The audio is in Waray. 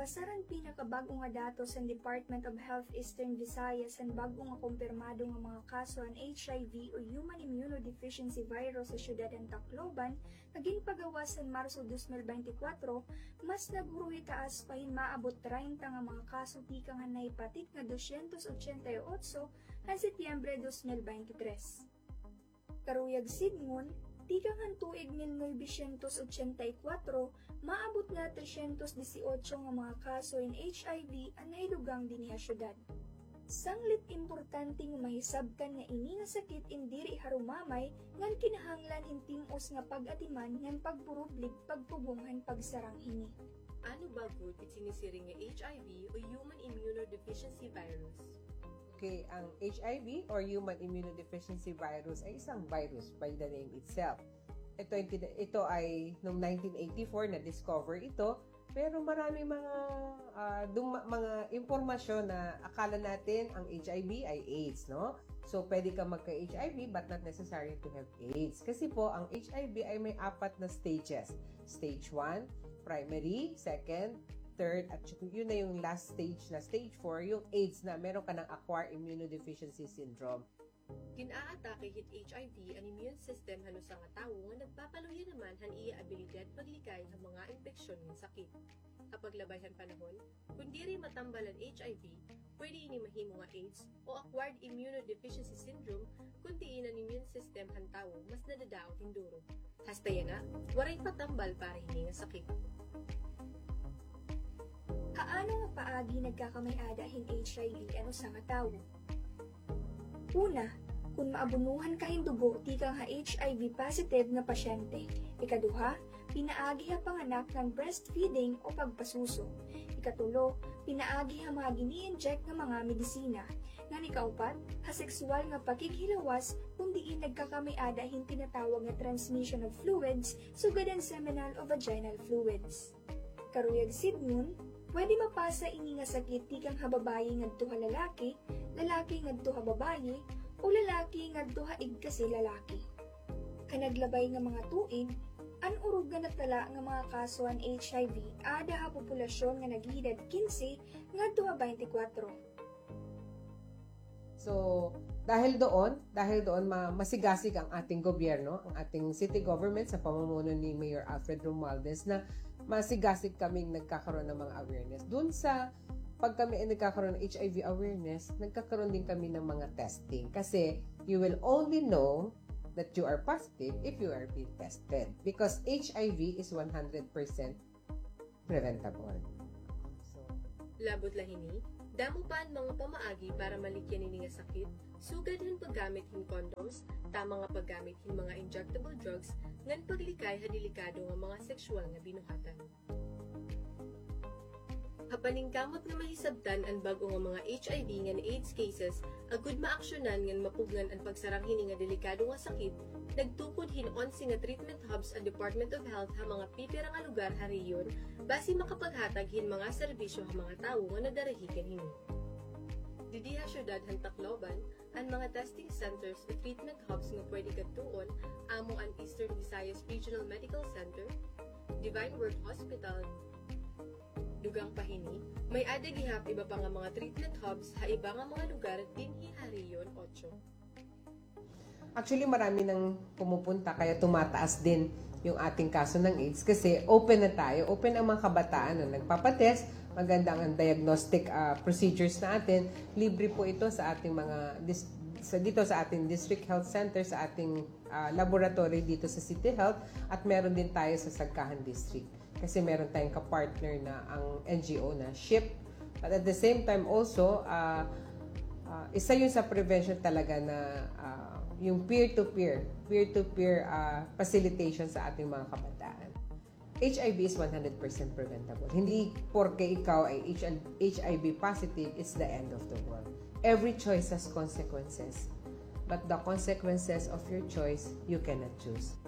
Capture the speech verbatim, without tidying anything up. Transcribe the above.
Basar han pinakabag-o nga datos han Department of Health Eastern Visayas, an bag-o nga kumpirmado nga mga kaso han H I V o human immunodeficiency virus ha syudad han Tacloban nga ginpagawas han Marso dos mil beintikwatro, mas naghuruhitaas pa hin maabot treinta nga mga kaso tikang han nahipatik nga dosyentos otsenta y otso han Setyembre dos mil beintitres. Karuyag sidngon, tikang han tuig mil novecientos otsenta y kuwatro, maabot na tresyentos disiotso nga mga kaso hin H I V an nahidugang dinhi ha syudad. Sanglit importante nga mahisabtan nga ini nga sakit in diri harumamay ngan kinahanglan hin tim-os nga pag-atiman ngan pagburublig pagtubong han pagsarang hini. Ano ba gud it sinisiring nga H I V o human immunodeficiency virus? Okay, ang H I V or human immunodeficiency virus ay isang virus by the name itself. Ito ay, ito ay noong nineteen eighty-four na-discover ito, pero marami mga, ah, duma-, mga impormasyon na akala natin ang H I V ay AIDS, no? So, pwede ka magka-H I V but not necessarily to have AIDS. Kasi po, ang H I V ay may apat na stages. Stage one, primary, second, third, at yun na yung last stage na stage four, yung AIDS na meron ka ng acquired immunodeficiency syndrome. Gin-aatake hit H I V an immune system han usa nga tawo nga nagpapaluya naman han iya abilidad paglikay han mga impeksyon ngan sakit. Ha paglabay han panahon, kon diri matambal an H I V, pwede ini mahimo nga AIDS o acquired immunodeficiency syndrome, kon diin an immune system han tawo mas nadadaot hin duro. Hasta yana, waray pa tambal para hini nga sakit. Ha ano nga paagi nagkakamay-ada hin H I V an usa nga tawo? Una, kon maabunuhan ka hin dugo tikang ha H I V positive nga pasyente. Ikaduha, pinaagi ha panganak ngan breastfeeding o pagpasuso. Ikatulo, pinaagi ha mga gini-inject nga mga medisina. Ngan ikaupat, ha sexual nga pakighilawas kon diin nagkakamay-ada hin tinatawag nga transmission of fluids, sugad han seminal o vaginal fluids. Karuyag sidngon, pwede mapasa ini nga sakit tikang ha babaye ngadto ha lalaki, lalaki ngadto ha babaye, o lalaki ngadto ha igkasi lalaki. Ha naglabay nga mga tuig, an urog nga natala nga mga kaso han H I V aada ha populasyon nga nag-edad kinse ngadto ha baynte kwatro. So, dahil doon, dahil doon ma-, masigasig ang ating gobyerno, ang ating city government sa pamumuno ni Mayor Alfred Romualdez na masigasig kaming nagkakaroon ng mga awareness. Doon sa pag kami ay nagkakaroon ng H I V awareness, nagkakaroon din kami ng mga testing. Kasi you will only know that you are positive if you are being tested. Because H I V is one hundred percent preventable. So, labot la hini, damo pa an mga pamaagi para malikyan ini nga sakit, sugad han paggamit hin condoms, tama nga paggamit hin mga injectable drugs, ngan paglikay ha delikado nga mga sexual nga binuhatan. Ha paningkamot nga mahisabtan an bag-o nga mga H I V ngan AIDS cases, agod maaksyonan ngan mapugngan an pagsarang hini nga delikado nga sakit, nagtukod hin onse nga treatment hubs an Department of Health ha mga pipira nga lugar ha rehiyon, basi makapaghatag hin mga serbisyo ha mga tawo nga nadarahigan hini. Didi ha syudad han Tacloban, an mga testing centers o treatment hubs nga pwede kadtuon amo an Eastern Visayas Regional Medical Center, Divine Word Hospital, dugang pa hini, may-ada gihap iba pa nga mga treatment hubs ha iba nga mga lugar dinhi ha Rehiyon Otso. Actually, marami nang pumupunta, kaya tumataas din yung ating kaso ng AIDS kasi open na tayo. Open ang mga kabataan na nagpapatest. Maganda ang diagnostic, ah, procedures natin. Libre po ito sa ating mga dis-, sa, dito sa ating district health center, sa ating, ah, laboratory dito sa City Health, at meron din tayo sa Sagkahan District. Kasi meron tayong kapartner na ang N G O na SHIP. But at the same time also, ah, ah, isa yun sa prevention talaga na, ah, yung peer-to-peer, peer-to-peer, ah, facilitation sa ating mga kabataan. H I V is one hundred percent preventable. Hindi porke ikaw ay H I V positive, it's the end of the world. Every choice has consequences. But the consequences of your choice, you cannot choose.